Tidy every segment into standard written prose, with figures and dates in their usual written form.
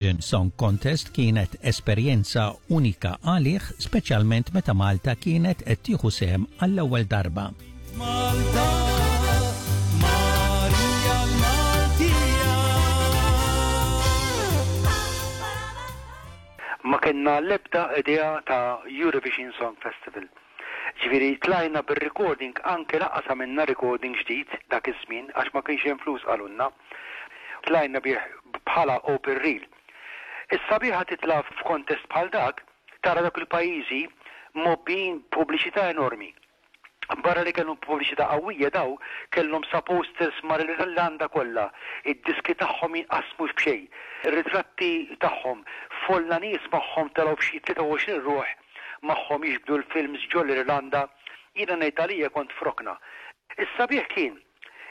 Song Contest kienet esperjenza unika għalih, speċjalment meta Malta kienet qed tieħu sehem għall-ewwel darba. Malta, Marija l-Maltija. Ma kellna l-ebda idea ta' Eurovision Song Festival. Ġifieri tlajna bir-recording anke lanqas għamilna recording ġdid dak iż-żmien għax ma kienx hemm flus qalulna. Tlajna bih bħala open reel. Is-sabiħa titla' f'kontest bħal dak, tara dawk il-pajjiżi mgħobbijin b'pubbliċità enormi. Barra li kellhom pubbliċità qawwija daw kellhom sa posters mal-Irlanda kollha, id-diski tagħhom jinqasmu b'xejn, ritratti tagħhom, folla nies magħhom telgħu b'xi 23 ruħ magħhom jiġbdu l-films ġol-Irlanda. Jiena ngħid għalija kont f'rokna. Is-sabiħ kien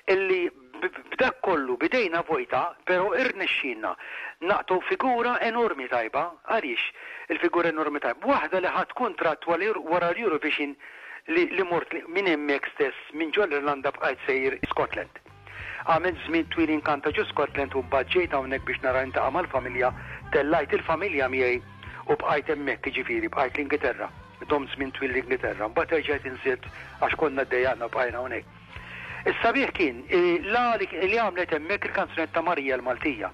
illi b'dak kollu b'idejna vojta pero irnexxielna naqtgħu figura enormi tajba. Għaliex il-figura enormi tajba? Waħda li ħadt kuntratt wara l-Eurovision li li mort minn hemmhekk stess minn ġol-Irlanda bqajt sejjer Scotland. Għamilt żmien twil inkanta ġo Scotland u mbagħad ġejt hawnhekk biex nara niltaqa' mal-familja, tellajt il-familja miegħi u bqajt hemmhekk jiġifieri bqajt l-Ingilterra. Domt żmien twil l-Ingilterra. Mbagħad erġajt inżilt għax konna ddejjaqna u bqajna hawnhekk. Is-sabiħ kien l-għali li għamlet hemmhekk il-kanzunetta Marija l-Maltija.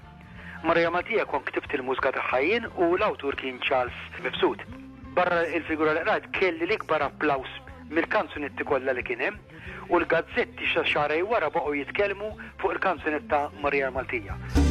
Marija Maltija kont ktibt il-mużika tagħha jien u l-awtur kien Charles Mifsud. Barra il-figura li qrajt kelli l-ikbar applaws mill-kanzunetti kollha li kien hemm u l-gazzetti xa xahrejn wara baqgħu jitkellmu fuq il-kanzunetta Marija l-Maltija.